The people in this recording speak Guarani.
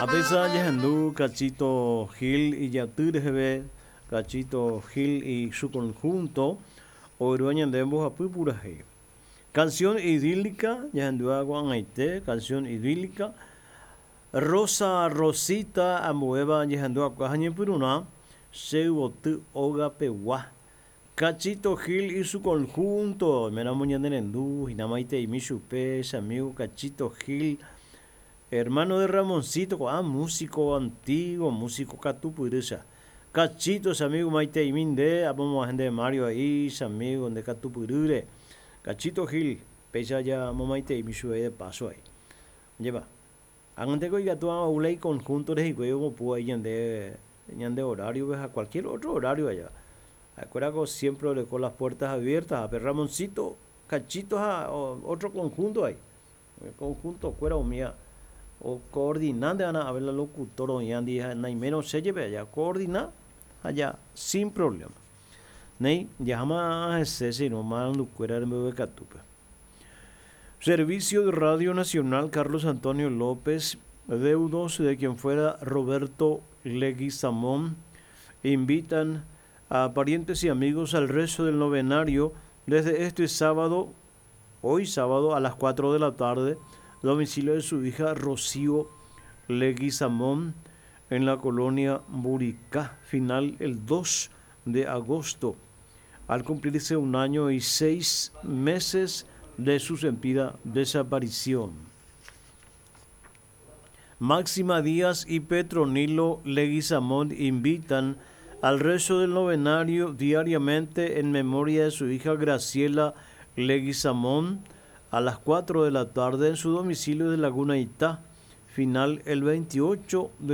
Apéicha jahendu Cachito Gil ijaty reheve, Cachito Gil y su conjunto, oyrua ñande mbohapy purahéi. Canción idílica, jahendúva ko'ag̃aite, Canción idílica, Rosa Rosita ambuéva jahenduakua ha ñepyrũrã che yvoty óga pegua. Cachito Gil y su conjunto, oiméramo ñane rendu hína maiteimi chupe, che amigo Cachito Gil, hermano de Ramoncito, ko'ã músico antiguo, músico katupyrýcha. Cachito, che amigo maiteimi nde, apomo'ã nde Mario a'i, che amigo nde katupyrýre. Cachito Gil, péicha jamomaiteimi chupe de paso a'i. Ajépa, ág̃anteko ikatu oúla iconjunto rehikuái omopúva a'i ñande ñande horario-pe ha cualquier otro horario aja. Ha'ekuérako siempre oreko las puertas abiertas ha pe Ramoncito, Cachito ha otro conjunto a'i. Conjunto-kuéra umíva ocoordinánte va'erã ave la locutor oĩva ndive ha naimérõ che jepe aja coordina ha ja sin problema. Néi, jaháma hese che irũ marandukuéra rembeguekatúpe. Servicio de Radio Nacional Carlos Antonio López, deudos de quien fuera Roberto Leguizamón, invitan a parientes y amigos al rezo del novenario desde este sábado, hoy sábado a las 4 de la tarde, domicilio de su hija Rocío Leguizamón en la colonia Buricá, final el 2 de agosto, al cumplirse un año y 6 meses de su sentida desaparición. Máxima Díaz y Petronilo Leguizamón invitan al rezo del novenario diariamente en memoria de su hija Graciela Leguizamón a las 4 de la tarde en su domicilio de Laguna Itá, final el 28 de